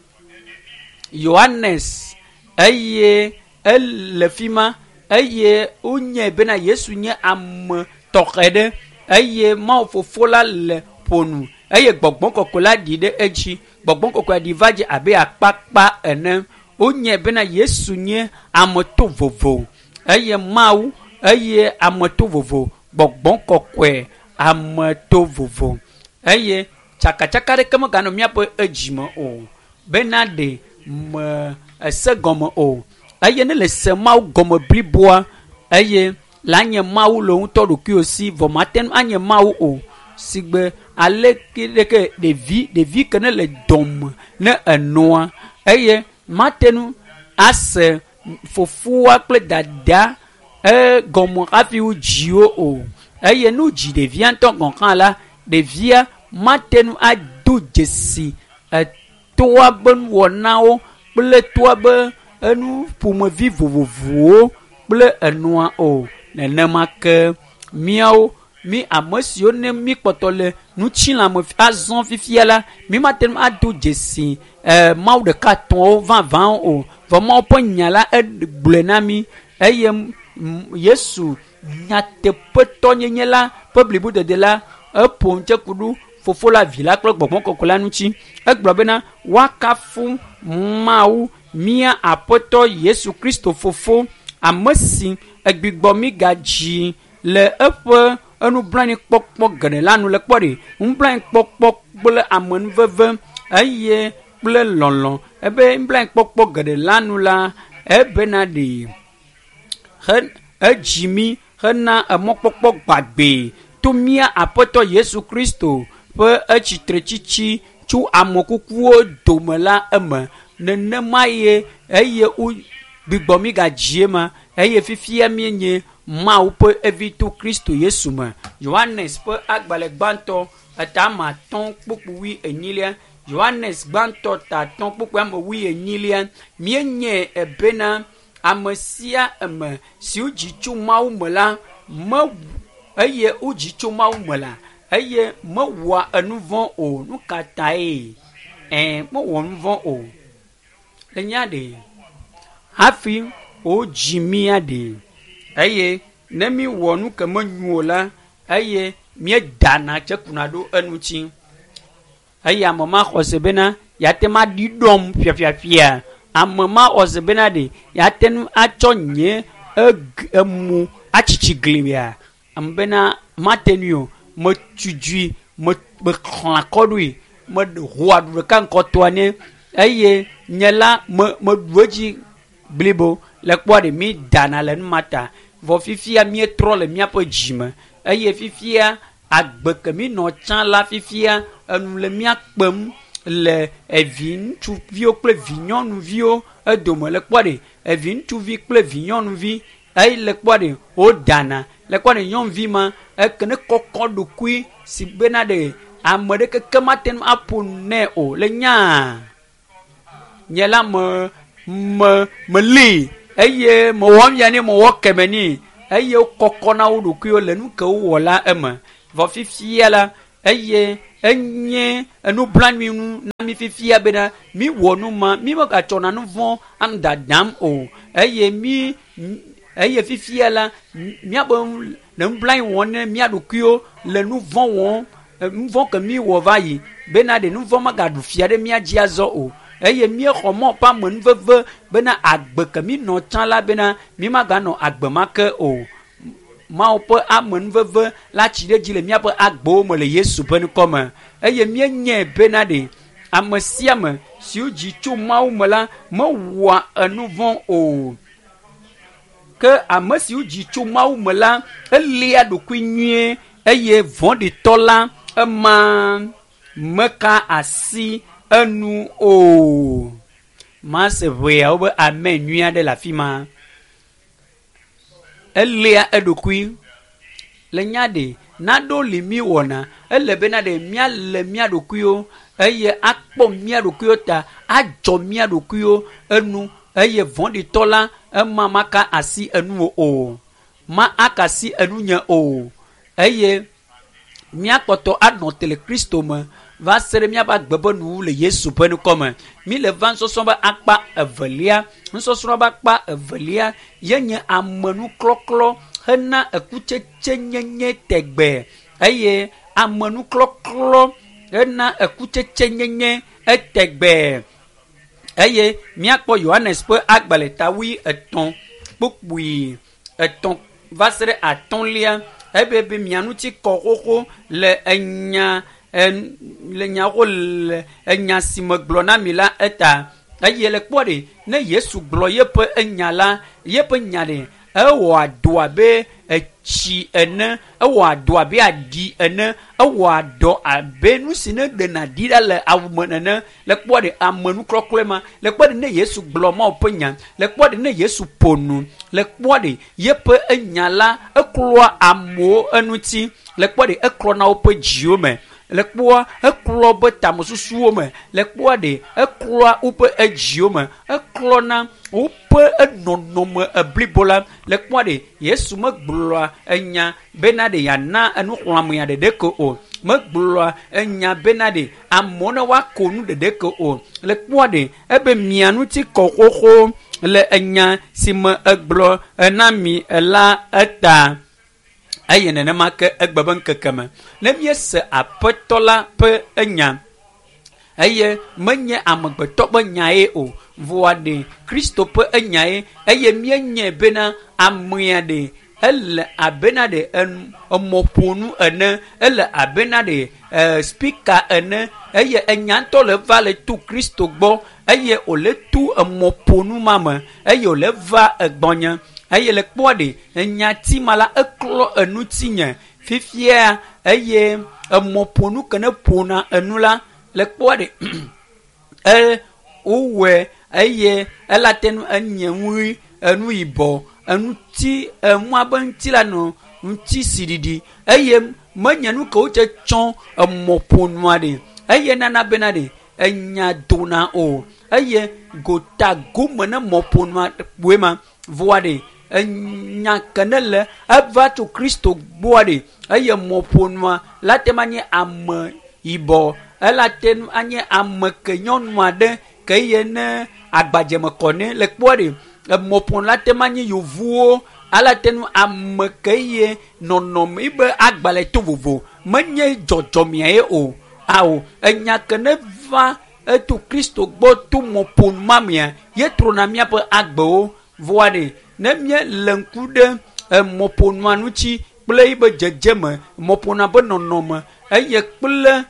Yohanes eye ele fi ma eye wonyae bena Yesu nye ame tɔxɛ ɖe eye Mawu fofo la le ƒonu eye gbɔgbɔ kɔkɔe la ɖi ɖe edzi. Gbɔgbɔ kɔkɔe ɖi va dze abe akpakpa ene. Wonyae bena Yesu nye ame to vovo eye Mawu eye ame to vovo, gbɔgbɔ kɔkɔe ame to vovo eye tsakatsaka ɖeke meganɔ míaƒe edzime o bena ɖe me ese gɔme o eye ne le se Mawu gɔme bliboa eye la nye Mawu le ŋutɔ ɖokuiwò si vɔ mate ŋu anye Mawu o sigbe aleke ɖeke ɖevi ɖevi ke ne le dɔme ne enoa eye mate ŋu ase fofoa kple dada egɔme hafi wodzi wo o eye ne wodzi ɖevia ŋutɔ gɔ̃ hã la ɖevia mate ŋu ado dzesi etoa be nuwɔnawo kple toa be enu ƒomevi vovovowo kple enua o. Nenema ke míawo mí ame siwo ne mí kpɔtɔ le ŋutilãme azɔ fifia la mí mate ŋu ado dzesi Mawu ɖeka tɔ̃wo vavãwo o. Vɔ Mawu ƒe nya la egblɔe na mí eye Yesu nyateƒetɔnyenye la ƒe blibodede la eƒo ŋutse ku ɖo fofo la, vi la kple gbɔgbɔ kɔkɔe la ŋuti. Egblɔ bena woakafu Mawu mía Aƒetɔ Yesu Kristo fofo Ame si egbigbɔ mi gadzi le eƒe enublanuikpɔkpɔ geɖe la nu le kpɔ ɖi. Nublanuikpɔkpɔ kple amenuveve eye kple lɔlɔ ebe nublanuikpɔkpɔ geɖe la nu la ebena ɖi he edzi mi hena emɔkpɔkpɔ gbagbe to mía aƒetɔ Yesu Kristo ƒe etsitretsitsi tso amekukuwo dome la eme. Nenema ye eye wo gbigbɔ mi gadzi ema eye fifia míenye Mawu ƒe evi to Kristo Yesu me. Yohanes ƒe agbalẽ gbãtɔ eta ame atɔ̃ kpukpui wui enyilia. Yohanes gbãtɔ ta atɔ̃ kpukpui ame wui enyilia. Míenye ebena ame sia ame si wodzi tso Mawu me la me eye wodzi tso Mawu me la eye mewɔa enu vɔ̃ o. Nu ka tae? Ɛ mewɔ nu vɔ̃ o. Le nya ɖe hafi wodzi mía ɖe eye ne mi wɔ nu ke menyo o la eye míedana tse kuna ɖo eŋuti. Eye ame ma xɔ se bena yeate ŋu aɖi ɖɔm fiafiafia. Ame ma xɔ se bena ɖe yeate ŋu atsɔ nye eg emu atsitsi glia. Ame bena mate ŋui o. Metudzui me mexlã kɔ ɖoe. Meho aɖu ɖeka ŋkɔtɔa nɛ eye nye la me meɖu edzi blibo. Le kpɔa ɖe mi dana le nu ma ta. Vɔ fifia míetrɔ le míaƒe dzime eye fifia agbe ke mi nɔ tsã la fifia enu le mía kpem le evi ŋutsuviwo kple vi nyɔnuviwo edome. Le kpɔa ɖe evi ŋutsuvi kple vi nyɔnuvi eye le kpɔa ɖe wodana. Le kpɔa ɖe nyɔnuvi ma eke ne kɔkɔ ɖokui si bena ɖe ame ɖe keke mate ŋu aƒo nu nɛ o. Le nyaa nye la me me meli eye mewɔ nu ya nɛ mewɔ keme nɛ eye wokɔkɔ na wo ɖokuiwo le nu ke wowɔ la eme. Vɔ fifia la eye enye enublanui nu na mi fifia bena mi wɔ nu ma mi megatsɔna nu vɔ̃ anɔ dadam o eye mi eye fifia la míabe le nublanui wɔm ne mía ɖokuiwo le nu vɔ̃ wɔm nu vɔ̃ ke mi wɔ va yi bena ɖe nu vɔ̃ magaɖu fia ɖe mía dzi azɔ o eye míexɔ mɔ ƒe amenuveve bena agbe ke mi nɔ tsã la bena mi maganɔ agbe ma ke o. Mawu ƒe amenuveve la tsi ɖe edzi le míaƒe agbewo me le Yesu ƒe ŋkɔ me eye míenyae bena ɖe ame sia ame si wodzi tso Mawu me la mewɔa enu vɔ̃ o. Ke ame si wodzi tso Mawu me la elia ɖokui nyuie eye vɔ̃ɖitɔ la ema meka asi enu o. Mase ʋeawo be amen nyui aɖe le afi ma. Elia eɖokui le nya ɖe naɖewo li mi wɔna ele bena ɖe míale mía ɖokuiwo eye akpɔ mía ɖokuiwo ta adzɔ mía ɖokuiwo enu eye vɔ̃ɖitɔ la ema maka asi enu o ma aka asi enu nye o eye míakpɔtɔ anɔ te le Kristo me va se ɖe míaƒe agbe ƒe nuwu le Yesu ƒe ŋkɔ me. Mi le va nusɔsrɔ̃ ƒe akpa evelia. Nusɔsrɔ̃ ƒe akpa evelia ye nye amenuklɔklɔ hena ekutsetsenyenye tegbe eye amenuklɔklɔ hena ekutsetsenyenye etegbe eye míakpɔ Yohanes ƒe agbalẽ ta wui etɔ̃ kpukpui etɔ̃ va se ɖe atɔ̃lia ebe be mia ŋuti kɔ xoxo le enya le nya xoxo le enya si megblɔ na mi la eta eye le kpɔ ɖe ne Yesu gblɔ yeƒe enya la yeƒe nya ɖe ewɔa dɔ abe etsi ene ewɔa dɔ abe aɖi ene ewɔa dɔ abe nu si ne ɖena ɖi ɖa le awu me nene. Le kpɔ ɖe amenuklɔklɔe ma le kpɔ ɖe ne Yesu gblɔ Mawu ƒe nya le kpɔ ɖe ne Yesu ƒo nu le kpɔ ɖe yeƒe enya la eklɔa amewo eŋuti le kpɔ ɖe eklɔna woƒe dziwo me le kpɔa eklɔ woƒe tamesusuwo me le kpɔa ɖe eklɔa woƒe edziwo me eklɔna woƒe enɔnɔme eblibo la le kpɔa ɖe Yesu megblɔa enya bena ɖe yeana enuxlɔ̃amea ɖeɖe ko o megblɔa enya bena ɖe amewo ne woako nu ɖeɖe ko o le kpɔa ɖe ebe mia ŋuti kɔ xoxo le enya si me egblɔ ena mi la eta eye nenema ke egbe be ŋkeke me ne míese aƒetɔ la ƒe enya eye menye amegbetɔ ƒe nyae o. Vɔa ɖe Kristo ƒe enyae eye míenyae bena amea ɖe ele abena ɖe emɔƒonu ene, ele abena ɖe spika ene eye enya ŋutɔ le va le to Kristo gbɔ eye wòle to emɔƒonu ma me eye wòle va egbɔnye eye le kpɔa ɖe enyati ma la eklɔ enutinye fifia eye emɔƒonu ke ne ƒona enu la le kpɔa ɖe wowɔe eye ela te ŋu enye nu ɣi, enu yibɔ, eŋuti enua be ŋuti la nɔ ŋutisiɖiɖi eye menye nu ke wotse tsɔ emɔƒonua ɖe eye nana bena ɖe enya dona o eye gota gome ne mɔƒonua kpoe ma vɔa ɖe enya ke ne le eva tso Kristo gbɔa ɖe eye mɔƒonua la te ma nye ame yibɔ ela te ŋu anye ame ke nyɔnu aɖe ke ye ne agbadzeme kɔ nɛ le kpɔa ɖe emɔƒonu la te ma nye yevuwo ala te ŋu ame ke ye nɔnɔme yibe agbalẽ to vovo menye dzɔdzɔmea ye o awo enya ke ne va eto Kristo gbɔ to mɔƒonu ma mea ye trɔna míaƒe agbewo vɔa ɖe ne míele ŋku ɖe emɔƒonua ŋuti kple yibe dzedzeme mɔƒonua ƒe nɔnɔme eye kple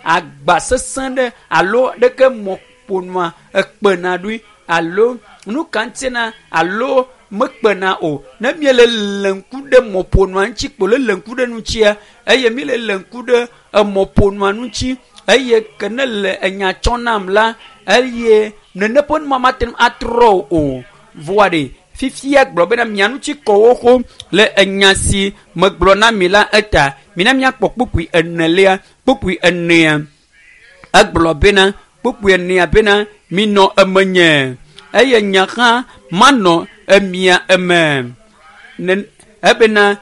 agba sesẽ ɖe alo ɖeke mɔƒonua ekpena ɖoe alo nu ka ŋuti alo mekpena o ne míele le ŋku ɖe mɔƒonua ŋuti kpo le le ŋku ɖe ŋutia eye míele le ŋku ɖe emɔƒonua ŋuti eye ke ne le enya tsɔ nam la eye nene ƒe numa mate ŋu atrɔ o vɔa ɖe fifia gblɔ bena mia ŋuti kɔ xoxo le enya si megblɔ na mi la eta mina míakpɔ kpukpui enelia kpukpui enea egblɔ bena kpukpui enea bena minɔ emenye eye nye hã manɔ emia eme ebena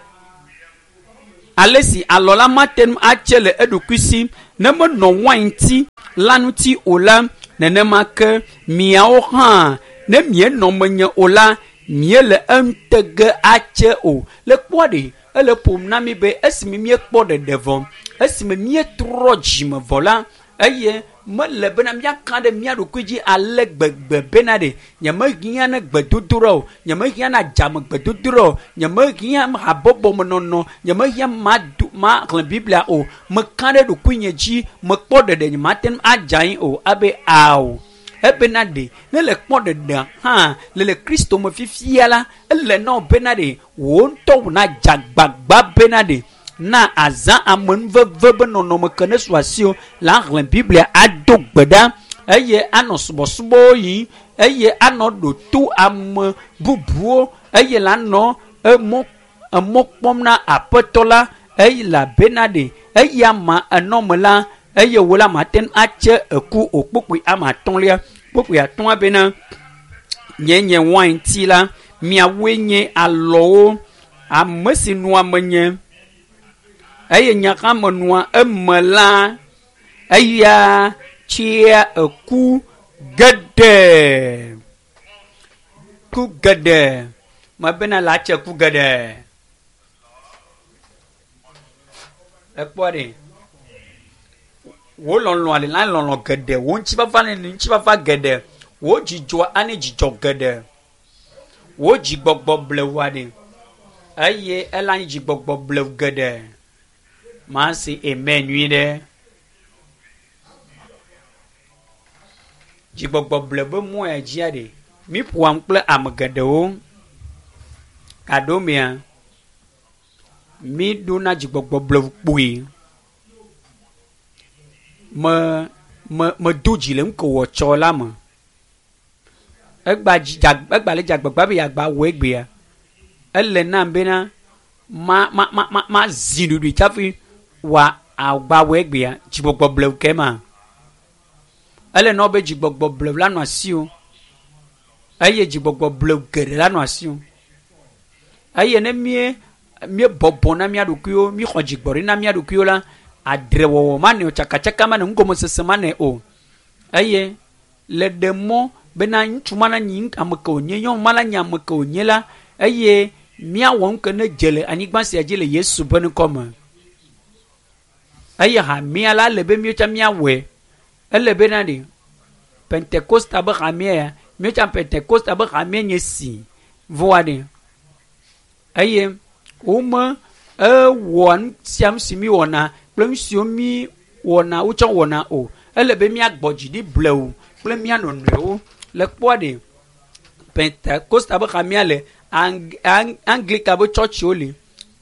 ale si alɔ la mate ŋu atse le eɖokui si ne menɔ wainti la ŋuti o la nenema ke miawo hã ne mienɔ menye o la miele eŋutege atse o le kpɔa ɖe ele ƒom na mi be esime míekpɔ ɖeɖe vɔ esime míetrɔ dzime vɔ la eye mele bena míaka ɖe mía ɖokui dzi ale gbegbe bena ɖe nyemehiã ne gbedodoɖa o nyemehiã na dzame gbedodoɖa o nyemehiã habɔbɔmenɔnɔ nyemehiã maxlẽ Biblia o meka ɖe ɖokuinye dzi mekpɔ ɖeɖe nyemate ŋu adze anyi o abe ao ebena ɖe ne le kpɔ ɖeɖe hã le Kristo me fifia la ele na wo bena ɖe wò ŋutɔ na dze agbagba bena ɖe na azã amenuveve be nɔnɔme ke ne su asiwò la xlẽ Biblia ado gbe ɖa eye anɔ subɔsubɔwo yim eye anɔ ɖoto ame bubuwo eye la nɔ emɔ kpɔm na aƒetɔ la eye la bena ɖe eya ma enɔme la eye wò la mate ŋu atse eku o kpukpui ame atɔ̃lia kpukpui atɔ̃a bena nye nye wainti la miawoe nye alɔwo ame si nɔa menye eye nye hã menɔa eme la eya tsia eku geɖe ku geɖe mebena la tse ku geɖe ekpɔ ɖe wò lɔlɔa le la lɔlɔ geɖe wò ŋutifafa le ŋutifafa geɖe wò dzidzɔa anye dzidzɔ geɖe wò dzigbɔgbɔ blewua ɖe eye ela nye dzigbɔgbɔ blewu geɖe maa se amen nyui ɖe dzigbɔgbɔ blewu be mɔ ya dzia ɖe mi ƒoam kple ame geɖewo gaɖomea mi ɖona dzigbɔgbɔ blewu kpoe me me do dzi le nu ke wɔ tsɔ la me egba le dze agbagba be yeagba wɔ egbea ele nam bena ma ma ma ma ma zi ɖuɖui tsafi wa agba wɔ egbea dzigbɔgbɔ blewu ke ma ele na wo be dzigbɔgbɔ blewu la nɔ asiwò eye dzigbɔgbɔ blewu geɖe la nɔ asiwò eye ne mie míebɔbɔ na mía ɖokuiwo míxɔ dzigbɔɖi na mía ɖokuiwo la adrewɔwɔ manɛ o tsakatsaka manɛ nugɔmesese manɛ o eye le ɖe mɔ bena ŋutsu ma na nyi ame ke wònye nyɔnu ma na nyi ame ke wònye la eye míawɔ nu ke ne dze le anyigba sia dzi le Yesu ƒe ŋkɔ me eye hamea la ele be míetsɔ míawɔe ele bena ɖe Pentekosta be hamea ya míetsã Pentekosta be hamea nye si vɔa ɖe eye wome ewɔa nu sia nu si mi wɔna kple nu siwo mi wɔna wotsɔ wɔna o. Ele be míagbɔ dzi ɖi blewu kple mía nɔnɔewo le kpɔa ɖe Pentekosta be hamea le Anglika be tsɔtsiwo li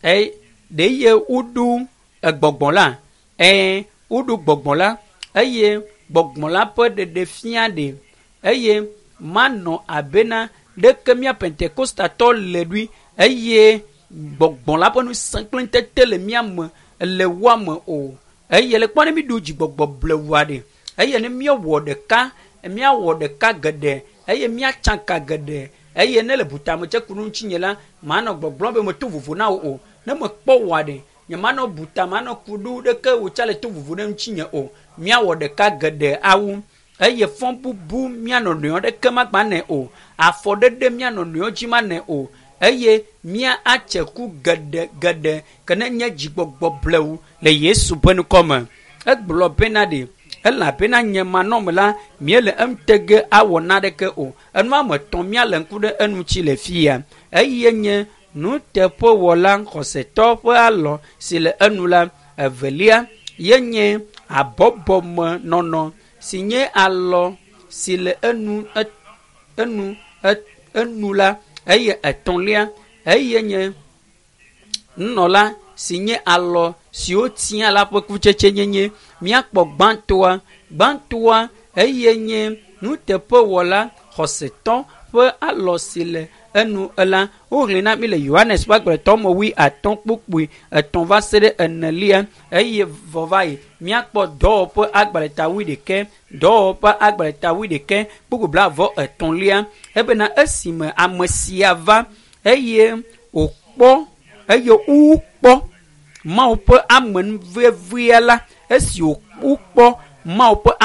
eye ɖe ye woɖo egbɔgbɔ la eye woɖo gbɔgbɔ la eye gbɔgbɔ la ƒe ɖeɖefia ɖe eye manɔ abena ɖeke mía Pentekostatɔ le ɖui eye gbɔgbɔ la ƒe ŋusẽ kple ŋutete le mía me le woa me o. Eye le kpɔ ne mi ɖo dzigbɔgbɔ blewua ɖe eye ne míewɔ ɖeka míawɔ ɖeka geɖe eye míatsaka geɖe eye ne le butametse ku ɖe ŋutinye la manɔ gbɔgblɔm be meto vovo na wò o. Ne mekpɔ wòa ɖe nyemanɔ buta manɔ ku ɖo ɖeke wòtsa le to vovo ɖe ŋutinye o. Míawɔ ɖeka geɖe awu eye fɔ bubu mía nɔnɔewo ɖeke magba nɛ o. Afɔ ɖeɖe mía nɔnɔewo dzi manɛ o. Eye mía atse ku geɖe geɖe ke ne nye dzigbɔgbɔ blewu le Yesu ƒe ŋkɔ me. Egblɔ bena ɖe elabena nye manɔme la míele eŋutege awɔ naɖeke o. Enu ame etɔ̃ míale ŋku ɖe enu ŋuti le fia. Eye nye nuteƒewɔla xɔsetɔ ƒe alɔ si le enu la. Evelia ye nye habɔbɔmenɔnɔ si nye alɔ si le enu enu enu la. Eye etɔ̃lia eye nye nunɔla si nye alɔ siwo tia la ƒe kutsetse nyenye. Míakpɔ gbãtɔa gbãtɔa eye nye nuteƒewɔla xɔsetɔ ƒe alɔ si le enu la. Woxlẽ na mi le Yohanes ƒe agbalẽtɔ me wui atɔ̃ kpukpui etɔ̃ va se ɖe enelia eye vɔ va yi míakpɔ dɔwɔƒe agbalẽta wui ɖekɛ dɔwɔƒe agbalẽta wui ɖekɛ kpukpui blaeve etɔ̃lia ebena esime ame sia va eye wòkpɔ eye wokpɔ Mawu ƒe amenuvevea la esi wokpɔ Mawu ƒe